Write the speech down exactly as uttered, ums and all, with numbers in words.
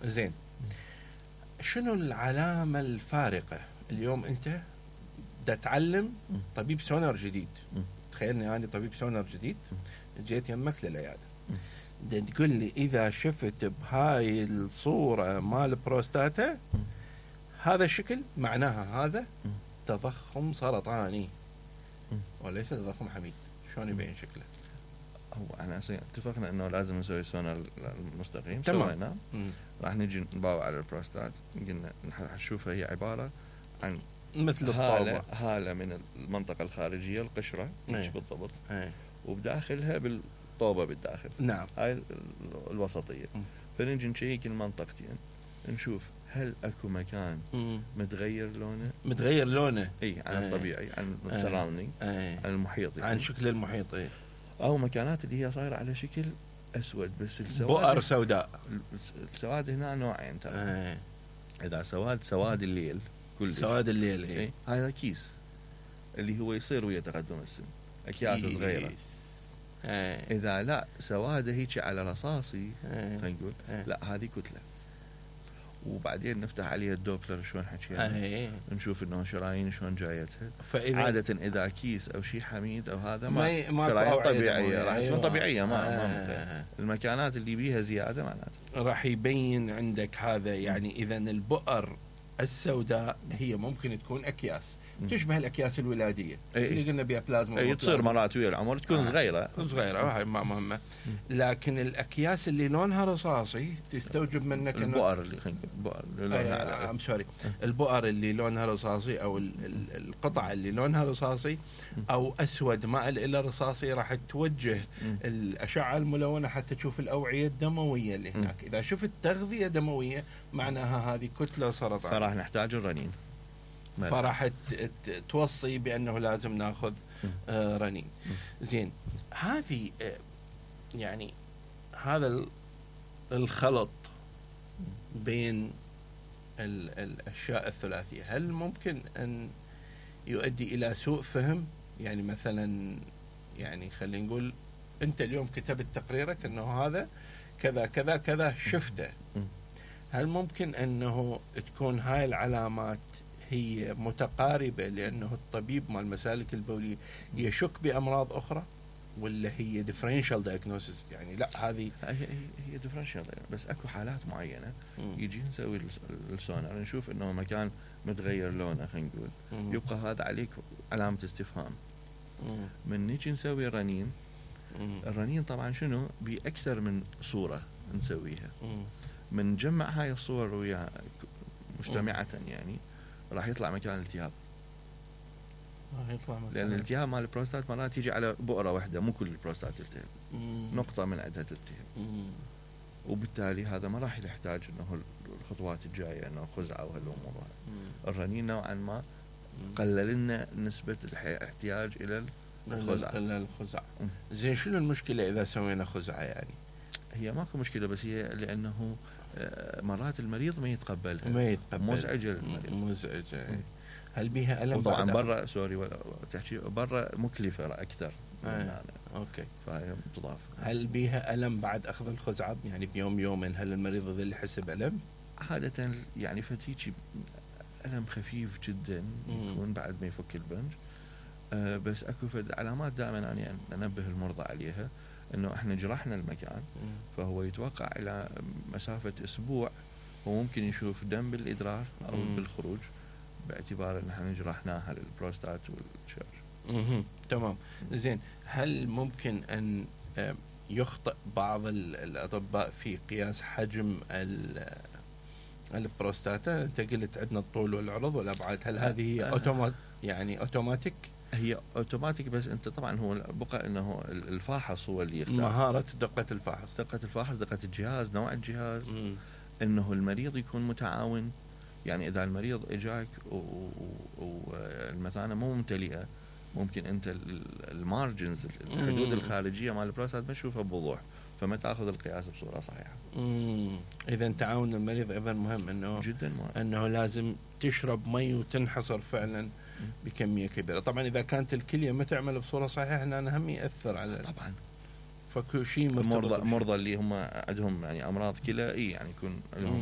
زين، شنو العلامة الفارقة اليوم انت دا تعلم طبيب سونار جديد؟ تخيلني انا طبيب سونار جديد جيت يمك للعيادة، دا تقول لي اذا شفت بهاي الصورة مال بروستاتا هذا الشكل معناها هذا تضخم سرطاني وليس تضخم حميد. شلون يبين شكله؟ هو احنا اتفقنا انه لازم نسوي سونار المستقيم، تمام. سوينا راح نجي نباوع على البروستات، قلنا نشوفها هي عبارة عن مثل هالة الطابة، هالة من المنطقة الخارجية القشرة ايه. بالضبط، ايه. وبداخلها بالطوبة بالداخل، نعم، هاي الوسطية. فنجي نشيك المنطقتين نشوف هل اكو مكان مم. متغير لونه، متغير لونه اي عن ايه. الطبيعي، عن ايه. السراوندينج، ايه. عن المحيط يعني. عن شكل المحيط، ايه. او مكانات اللي هي صايرة على شكل اسود، بس السواد بؤر سوداء. السواد هنا نوعين ترى، ايه. اذا سواد سواد الليل كل سواد الليل، ايه. إيه؟ هذا كيس اللي هو يصير ويا تقدم السن، اكياس كيس. صغيرة. ايه. اذا لا سواده هيك على رصاصي، ايه. خلينا نقول ايه. لا هذه كتلة. وبعدين نفتح عليها الدوبلر شلون حكينا، ايه. نشوف انه شرايين شلون جايتها. فإذا عادة اذا كيس او شيء حميد او هذا ما, ما, ما شرايين طبيعية راح أيوة. تكون طبيعية، ما, آه. ما ممكن. المكانات اللي بيها زيادة معناته راح يبين عندك هذا، يعني اذا البؤر السوداء هي ممكن تكون اكياس تشبه الاكياس الولاديه أي اللي قلنا بها بلازما، اي تصير مرات ويا العمر تكون آه. صغيره صغيره، هاي ما مهمه. لكن الاكياس اللي لونها رصاصي تستوجب منك انه البؤر اللي خلينا البؤر اللي لونها ام سوري البؤر اللي لونها رصاصي او ال ال القطعه اللي لونها رصاصي او اسود مائل الى رصاصي راح توجه الاشعه الملونه حتى تشوف الاوعيه الدمويه اللي هناك. اذا شفت تغذيه دمويه معناها هذه كتله سرطان، فراح نحتاج الرنين، فراح توصي بأنه لازم ناخذ آه رنين. زين، هذه آه يعني هذا الخلط بين ال الأشياء الثلاثية هل ممكن أن يؤدي إلى سوء فهم؟ يعني مثلا يعني خلينا نقول أنت اليوم كتبت تقريرك أنه هذا كذا كذا كذا شفته، هل ممكن أنه تكون هاي العلامات هي متقاربة لأنه الطبيب مال المسالك البولية يشك بأمراض أخرى، ولا هي differential diagnosis؟ يعني لا هذه هي هي differential، بس اكو حالات معينة يجي نسوي السونار نشوف انه مكان متغير لونه، خلينا نقول يبقى هذا عليك علامة استفهام. مم. من نيجي نسوي الرنين، مم. الرنين طبعا شنو بأكثر من صورة نسويها، مم. من جمع هاي الصور ويا مجتمعة يعني راح يطلع مكان الالتهاب، يطلع مكان لأن الالتهاب مال البروستات مرات يجي على بؤرة واحدة، مو كل البروستات تلتهب، نقطة من عندها تلتهب، وبالتالي هذا ما راح يحتاج انه الخطوات الجاية انه خزعة وهالامور. الرنين نوعا ما قلل لنا نسبة الاحتياج الى الخزعة. الى الخزعة. زين، شنو المشكلة اذا سوينا خزعة؟ يعني هي ماكو مشكلة، بس هي لانه مرات المريض ما يتقبلها، ما يتقبل، مزعجة للمريض، مزعجة. هل بيها ألم؟ طبعا برا سوري ولا تحكي برا مكلفة أكثر. آه. أوكي، فهي تضاف. هل بيها ألم بعد أخذ الخزعة؟ يعني بيوم يومين هل المريض يظل يحس بألم؟ عادة يعني فتيجي ألم خفيف جدا يكون بعد ما يفك البنج. آه بس أكو فد علامات دائما أنا يعني أنبه المرضى عليها، إنه إحنا جرحنا المكان مم. فهو يتوقع إلى مسافة أسبوع وممكن يشوف دم بالإدرار أو مم. بالخروج، باعتبار ان احنا جرحناها للبروستات والشرج. اها تمام. زين، هل ممكن ان يخطئ بعض الاطباء في قياس حجم البروستاتا؟ انت قلت عندنا الطول والعرض والابعاد، هل هذه هي اوتومات يعني اوتوماتيك؟ هي اوتوماتيك، بس انت طبعا هو بقى انه الفاحص هو اللي يختار مهارة دقة الفحص، دقة الفحص، دقة الجهاز، نوع الجهاز، م. انه المريض يكون متعاون. يعني إذا المريض إجاك والمثانة مو ممتلئة، ممكن أنت المارجنز الحدود الخارجية مال البروستات ما تشوفها بوضوح، فما تأخذ القياس بصورة صحيحة. إذا تعاون المريض أيضا مهم، إنه جدا مهم، إنه لازم تشرب مي وتنحصر فعلا بكمية كبيرة. طبعا إذا كانت الكلية ما تعمل بصورة صحيحة هنا هم يأثر على طبعا فكل شيء. مرضى مرضى اللي هم عندهم يعني أمراض كلى، إيه يعني يكون